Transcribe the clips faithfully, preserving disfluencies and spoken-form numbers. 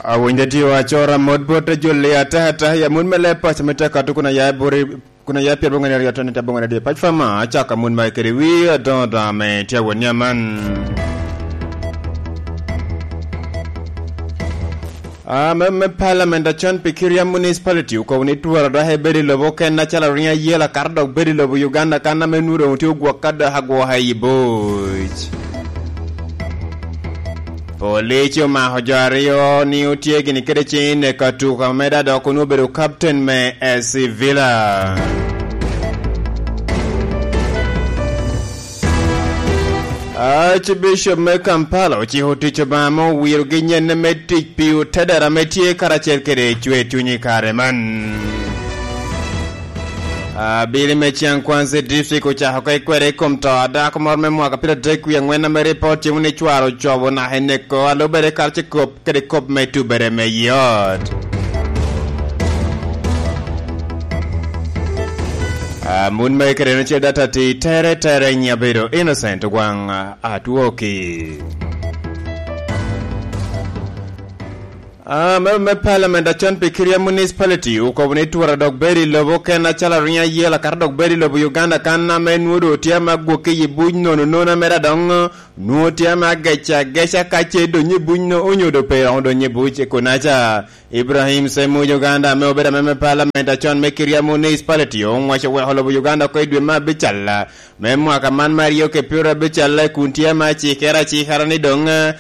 Awinyo tye acora mot bot jolli ataka ataka i amut me leb paco me tye kato kun aya i buri, kun aya pyer boŋo aryo toni tye boŋo aryo. Pac fama acaka amut magi kede wi adoŋo doŋo ame tye awot ni aman. Ah, me, me Parliament acon pi Kiria Municipality okobo ni twara dok ebedo i lobo oken acalo riŋo ayela kato dok bedo i lobo Uganda kan ame nwoŋo doŋ tye ogwok ka dok agwoka i buc. Police omako jo aryo ni otye gini kede cen i neko atuka me dok onwoŋo obedo captain me S C Villa. Archbishop me Kampala ociko tic Obaŋa me owirogi nyenne me tic pi otedera ame tye karacel kede cwer cuny i kare man. Abili me Cyankwanzi District ocako oko i kwede i kom to a dako moro me mwaka pyeradek wie aŋwen ame ripot timo ni cware ocobo naka i neko a lubere karacel kop kede kop me tubere me yot. Amut magi kede en ocel data ti tere tere nyi abedo Innocent Ogwaŋ Atwoki. Ah, me, me Parliament acon pi Kiria Municipality okobo ni twara dok bedo i lobo oken acalo riŋo ayela kato dok bedo i lobo Uganda kan ame nwoŋo doŋ tye ame agwokke i buc nono nono mere adoŋo nwoŋo tye ame agec ageca ka ce donyo i buc no onyo doŋ pe romo donyo i buc i kunaca. Ibrahim Semuj Uganda ame obedo ame me Parliament acon me Kiria Municipality oŋwaco weko lobo Uganda oko i dwe me abical me mwaka man me aryo kede pyero abical kun tye ame acikere acikara ni doŋ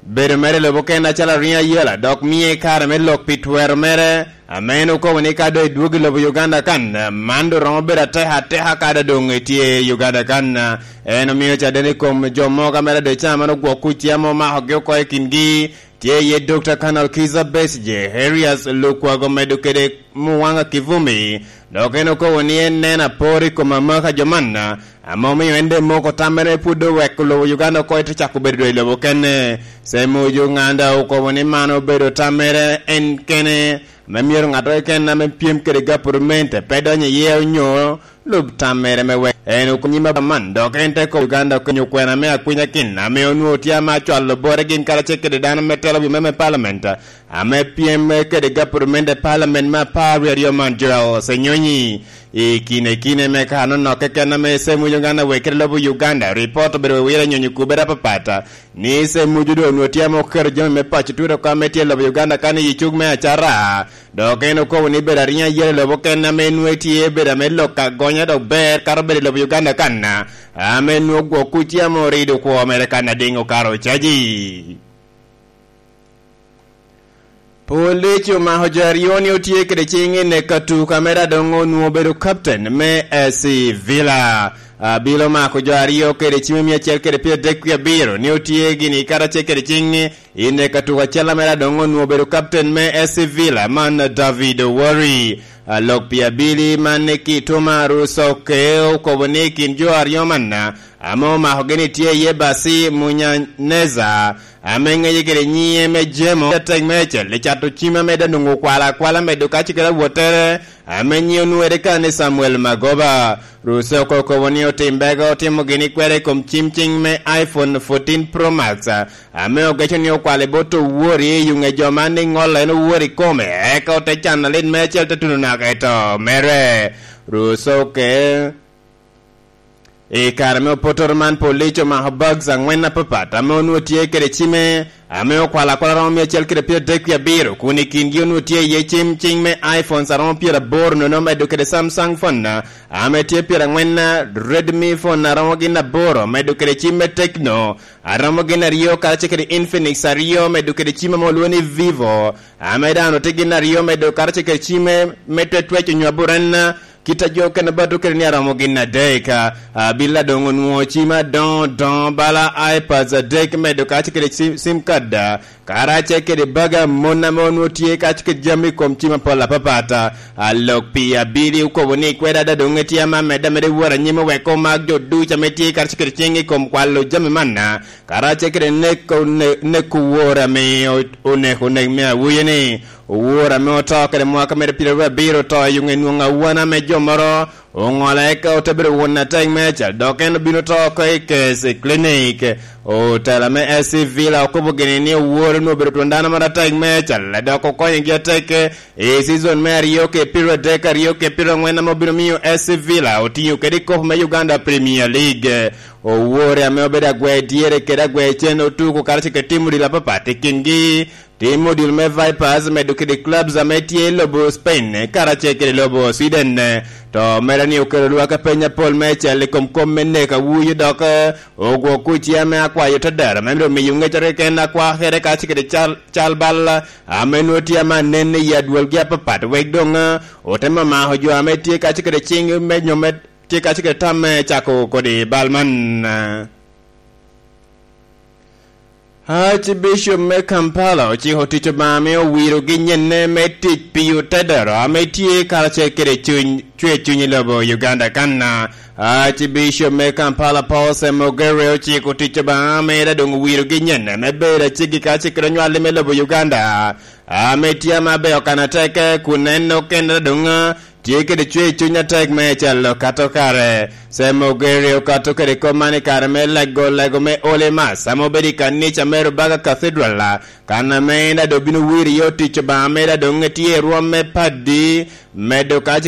bedo mere i lobo oken acalo riŋo ayela, dok mie kare me lok pi twero mere, ame en okobo ni ka doŋ edwogo i lobo Uganda kan, man doŋ romo bedo ateka ateka ka doŋ doŋ etye i Uganda kan. En omio caden i kom jo mogo ame doŋ ca man ogwok kuc tye ame omakogi oko i kingi, tye iye Dokta Colonel Kizza Besigye, Erias Lukwago medo kede Muwanga Kivumbi, dok en okobo ni en neno apor i kom amaka jo man, ame omio en doŋ moko tammere pwod oweko lobo Uganda oko ite cako bedo doŋ i lobo kene. Semuju Ŋanda okobo ni man obedo tammere en kene, ame myero ŋat keken ame pyem kede gapurumenti pe donyo iye onyo lub tammere me wek en okonyi me man, dok en te kobo Uganda okonyo kwena me akwinyakin ame onwoŋo tye ame acwalo bore gin karacel kede dano me telo wi me, me palament, ame pyem kede gapurumenti palament me apar wie aryo man, Joel Senyonyi. I kine kine me kano nok keken ame Semuju Uganda wek kede lobo Uganda, ripot obedo wewire nyonyo kubere apapat, ni Semuju doŋ onwoŋo tye ame oketo jami me paco tut oko ame tye i lobo Uganda kan i cuk me acara, dok en okobo ni bedo ariŋo ayela i lobo kene ame nwoŋo tye bedo ame lok agonya dok ber kato bedo i lobo Uganda kan, ame nwoŋo gwok kuc tye ame orido kwo mere kan adiŋ okato caji. Police omako jo aryo ni otye kede ciŋ i neko atuka mere adoŋo onwoŋo obedo captain me S C Villa. Abilo omako jo aryo kede ciŋ me mia acel kede pyeradek wie abiro ni otye gini karacel kede ciŋ i neko atuka acel mere adoŋo onwoŋo obedo captain me S C Villa man David Owori. Alok pi abili man Kituma Rusoke okobo ni i kin jo aryo man ame omakogi ni tye iye Basi Munyaneza, ame ŋeje kede nyiŋe me Jemo, atek me acel i cato cim ame daŋ onwoŋo okwalo akwala medo kaci kede awottere, ame nyiŋe onwoŋere kan ni Samuel Magoba. Ruse oko okobo ni otimbege otimo gini kwede i kom cim ciŋ me iPhone fourteen Pro Max, ame ogeco ni okwalo i bot owori i yuŋe jo man ni ŋolo en owori kome, eka ote cano lit me acel te tuno naka i to mere. Ruse oke I kare me opotoro man, police omako bags aŋwen apapat ame onwoŋo tye kede cime, ame okwalo akwala romo mia acel kede pyeradek wie abiro, kun i kingi onwoŋo tye iye cim ciŋ me iPhones aromo pyeraboro nono, medo kede Samsung phone ame tye pyeraŋwen, Redmi phone aromo gin aboro, medo kede cim me Tecno aromo gin aryo, karacel kede Infinix aryo, medo kede cim ame olwoŋo ni Vivo, ame dano tye gin aryo, medo karacel kede cim me, me twectwec onyo aburen, kit a jo okene bato kede ni aromo gin adek. Abila doŋ onwoŋo cim adoŋo doŋo bala iPads adek, medo karacel kede sim, sim card, karacel kede baga mon ame onwoŋo tye karacel kede jami i kom cim apol apapat. Alok pi abili okobo ni kweda ada doŋ etye ame amedde ameda i wot anyim oweko omak jo ducu ame tye karacel kede ciŋ i kom kwalo jami man, karacel kede neko, ne-, neko wor ame o-, oneko nek me awuye ni Owor ame oto kede mwaka mere pyeraryo abiro oto i ŋe nwoŋo awan ame jo moro oŋolo eka ote bedo won atek meicel, dok en obino to oko i Case Clinic. Otela me S C Villa okobo gini ni Owor onwoŋo obedo twon dano moro atek meicel, dok okonyogi atek i season me aryo kede pyeraryo adek, aryo kede pyeraryo aŋwen ame obino miyo S C Villa otiŋo kede i kop me Uganda Premier League. Owor ame obedo agwer dyere kede agwer cen otuko karacel kede tim odilo apapat i kingi, tim odilo me Vipers medo kede clubs ame tye i lobo Spain karacel kede lobo Sweden. To mere ni okelo lwak apeny apol meicel i kom kom me nek awuyo dok ogwok kuc ame akwayo te dero me myero omiyo ŋecere keken akwakere karacel kede cal, cal bal ame nwoŋo tye ame anen i adwolgi apapat, wek doŋ ote mamako jo ame tye karacel kede ciŋ me nyo me tye karacel kede tam me cako kodi bal man. Archbishop me Kampala ociko tic Obaŋa ame owirogi nyenne me tic pi otedero ame tye karacel kede cuny, cwer cuny i lobo Uganda kan. Archbishop me Kampala Paul Semogere ociko tic Obaŋa ame en doŋ owirogi nyenne me bedo aceggi karacel kede onywalli me lobo Uganda ame tye ame abeyo kan atek kun en okene doŋ tye kede cwer cuny atek me calo kato kare. Semogere okato kede kop man i kare me lego lego me Holy Mass ame obedo i kanica me Rubaga Cathedral, kan ame en ado bino wiro i ot tic Obaŋa mere adoŋ etye i rwom me paddi, medo ka